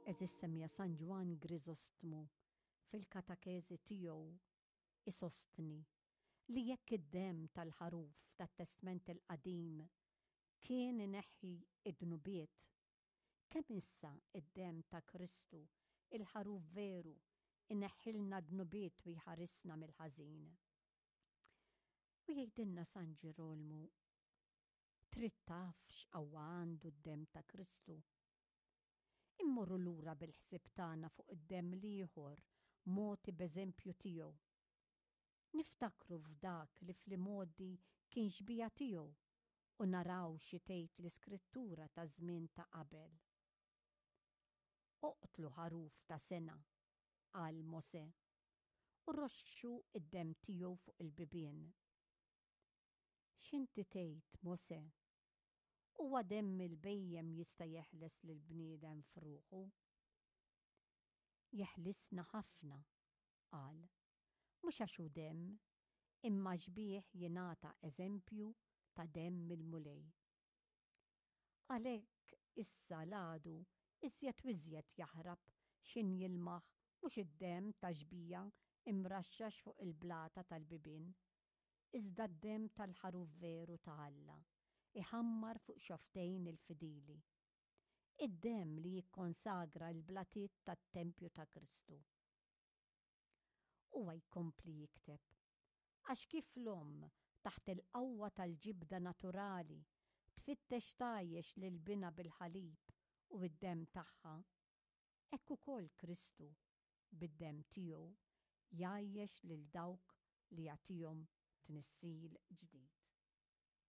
Għeżież semmiegħa San Ġwann Griżostmu fil-katakeżi tiegħu isostni li jekk id-demm tal-ħaruf tat-Testment il-Qadim kien ineħħi d-dnubiet, kemm issa d-demm ta' Kristu, il-ħaruf veru, ineħħilna d-dnubiet u jħarisna mill-ħażin. U jgħidilna San Ġirolmu Trid taf x'qawwa għandu d-demm ta' Kristu? Immorru lura bil-ħsieb tagħna fuq id-demm l-ieħor mogħti b'eżempju tiegħu. Niftakru f'dak li fl-imgħoddi kien xbieha tiegħu u naraw xi tgħid l-Iskrittura taż-żmien ta' qabel. Oqtlu ħaruf ta' sena, qal Mosè, u roxxu d-demm tiegħu fuq il-bibien. X'inti tgħid, Mosè? Huwa demm il-bhejjem jista' jeħles lill-bniedem f'ruħu? Jeħlisna ħafna, qal, mhux għax hu demm, imma għax bih jingħata eżempju ta' demm il-Mulej. Għalhekk issa l-għadu iżjed u iżjed jaħrab x'ħin jilmaħ mhux id-demm ta' xbieha imraxxax fuq il-blata tal-bibien, iżda d-demm tal-Ħaruf veru ta' Alla, iħammar fuq xofftejn il-fidili. Id-demm li jikkonsagra l-blatiet tat-tempju ta' Kristu. Huwa jkompli jikteb, Għax kif l-omm, taħt il-qawwa tal-ġibda naturali, tfittex tgħajjex lil binha bil-ħalib u d-demm tagħha, hekk ukoll Kristu, bid-demm tiegħu, jgħajjex lil dawk li jagħtihom tnissil ġdid.